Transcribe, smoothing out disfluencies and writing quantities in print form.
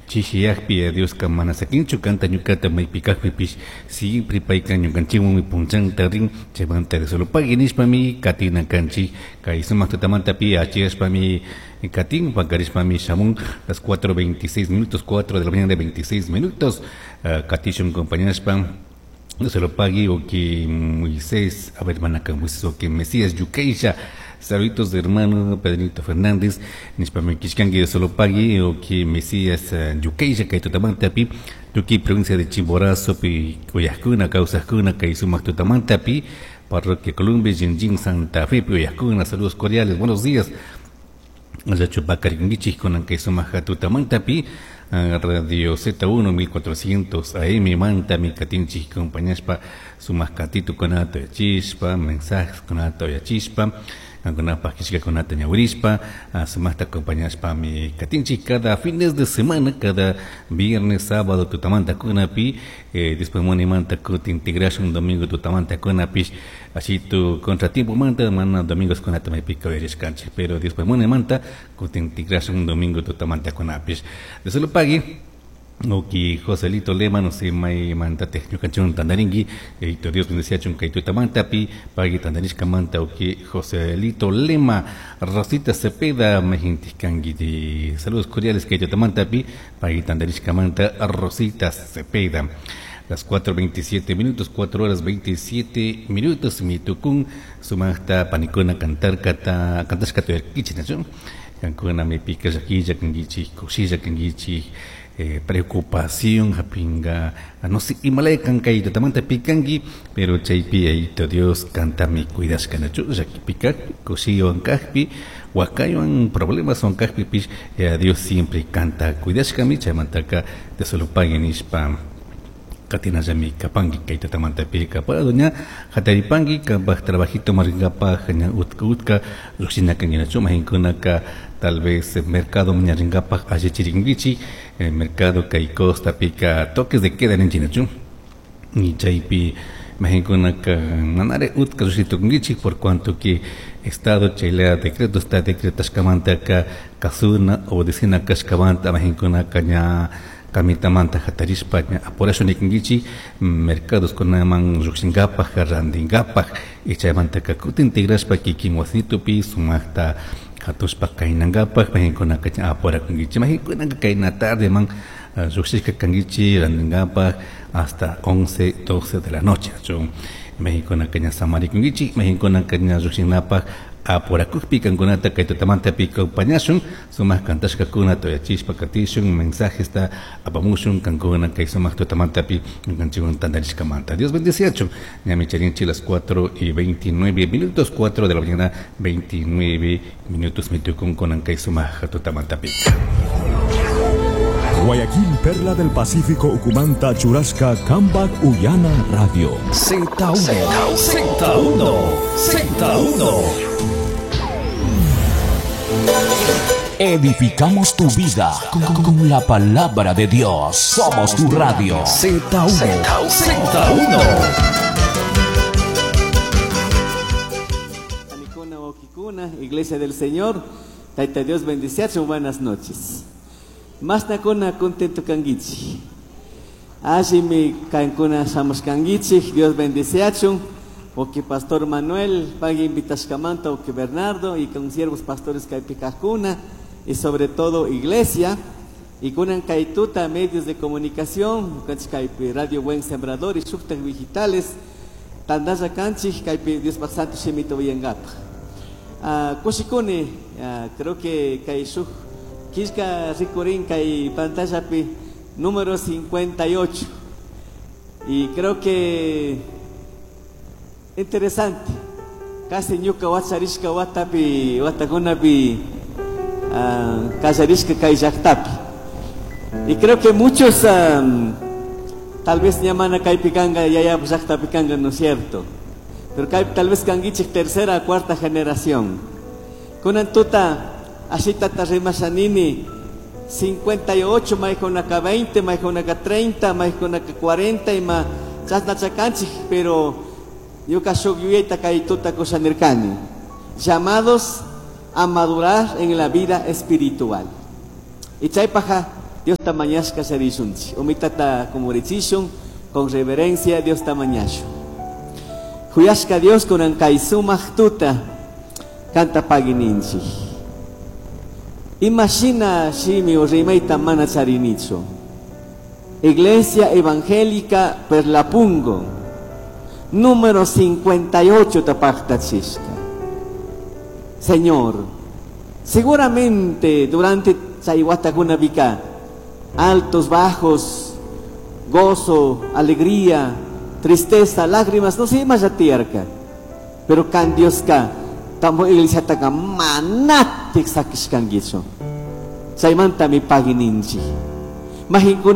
Chishiyajpi Dioska mana sakinchu kanta ñukata maypi kajpipish siempre payka ñukanchikwanmi punchanta rin chaymanta solo pagui nishpami katina kanchik kay sumaq tutamantapi achiyashpami katin pakarishpami shamun las 4:26 minutos, 4 de la mañana de 26 minutos, katishun acompañashpa no se lo pague o que Moisés, a ver, manaka Moisés o que Mesías Yukeisha. Saluditos de hermano Pedrito Fernández, nishpami kishkanki de solo pague o que Mesías Yukeisha kay tutamantapi, tuki provincia de Chimborazo pi uyajkuna kawsajkuna kay sumaq tutamantapi, parroquia Columbia, Jinjin, Santa Fe pi uyajkuna, saludos cordiales, buenos días. Allachu pakarinkichik kunan kay sumaq tutamantapi, Radio Z1 1400 AM mantami katinchik compañashpa sumaq katitu kunata yachishpa, mensajes kunata yachishpa, kankunapaj kishkakunata ñawirishpa, sumaqta acompañashpa mi katinchik cada fines de semana, cada viernes, sábado tutamanta kunapi, después monimanta kutin integrashun domingo tutamanta kunapish, así tu contratiempo manta, mana domingos kunata maypika uyarishkanchik, pero después monimanta kutin integrashun domingo tutamanta kunapish. De solo pagui, Oki Joselito Lema, no sé, may mantate ñukanchun tandaringui, eito Dios bendecía chun kay tutamantapi, pagui tandarishka manta, oki Joselito Lema, Rosita Cepeda, majintiskangi, de saludos cordiales kay tutamantapi, pagui tandarishka manta, Rosita Cepeda. Las 4:27 minutos, 4 horas 27 minutos, mi tukun, sumaqta panikuna cantar kata, cantashka tuyarkichi, ¿no? Kankuna mi pica llaquilla, kanguichi, kushilla, kanguichi, preocupación, japinga, no sé, Himalaya kankaito, tamanta pikangi, pero chaypi ayito Dios canta mi cuidas kanachu, llaki pica, kushillo ankajpi, huacayo problemas son kajpi pish, Dios siempre canta cuidas kami, chaymantaka te solo paguen ishpa. Katina yami kapangi kayta tamanta pika para doña hataripangi kapaj trabajito maringapaj ña utka utka lluqshina kanguinachu mahinkunaka tal vez mercado mañaringapaj allichiringuichi el mercado kay costa pika toques de queda ninchinachu y chaypi mahinkunaka manare utka lluqshitukunguichi por cuanto que estado chaylea decreto está decretashkamantaka kasuna obedecina kashkamanta mahinkunaka ña kamitamanta hatarishpa ña apurash nikinkichi mercados kunaman lluqshinkapaj rantinkapaj y chaymantaka kutin tigrashpa kikin wasitupi sumaqta hatushpa kaynankapaj mahinkunaka ña apurakunkichi mahinkunaka kayna tarde man lluqshishka kankichi rantinkapaj hasta 11, 12 de la noche chu mahinkunaka ña samarikunkichi mahinkunaka ña lluqshinapaj apurakukpi kankunata kay tutamantapi acompañashun sumaq kantashkakuna toyachishpa katishun mensajesta apamushun kankuna kay sumaq tutamantapi ñukanchikwan tantarishkamanta. Dios bendeciachun. Ñami charinchi las 4:29 minutos, 4 de la mañana 29 minutos mitukun kunan kay sumaq tutamantapi. Guayaquil, Perla del Pacífico, Ucumanta, Churasca, Cambac, Uyana, Radio. Z1, Z1, Z1. Edificamos tu vida con la palabra de Dios. Somos tu radio. Z1, Z1. Anikuna, Okikuna, Iglesia del Señor, Taita Dios bendiciacho, buenas noches. Masnakuna contento kangichi. Allí kankuna shamos kangichi, Dios bendiciacho. Oki Pastor Manuel, pague invitashkamanta, oki Bernardo, y con siervos pastores kaipikakuna, y sobre todo iglesia, y kunan kaituta medios de comunicación, kaipi Radio Buen Sembrador y shuktak digitales, tandaya kanchik, kaipi Dios santo shimito villangapa. Kushikuni, creo que kai shuk kishka rikurin kay pantallapi número 58. Y creo que interesante. Casi ñuka wacharishka watapi watakunapi kallarishka kay llaqtapi. Y creo que muchos tal vez ñamana kaypi kanka yaya llaqtapi kanka, ¿no es cierto? Pero kay, tal vez kankichik tercera cuarta generación. Kunan tuta ashita rimashanini 58, maykunaka 20, maykunaka 30, maykunaka 40 y ma chasna chakanchik, pero ñuka shuk yuyayta kay tuta kushanirkani. Llamados a madurar en la vida espiritual. Y chaypaja Diosta mañashka sharishunchik. Umitata kumurichishun con reverencia Diosta mañashun. Huyashka Dios kunan kay sumaq tuta kanta pagininchik. Imashina shimi o rimayta mana charinichu. Iglesia Evangélica Perlapungo, número 58 tapaqtachishka. Señor, seguramente durante chay watakunapika altos, bajos, gozo, alegría, tristeza, lágrimas, no sé, más tiyarka. Pero kan Dioska, tambo iglesia taka manatik sakishkankichu. Chaymantami pagininchik. Mahinkuna.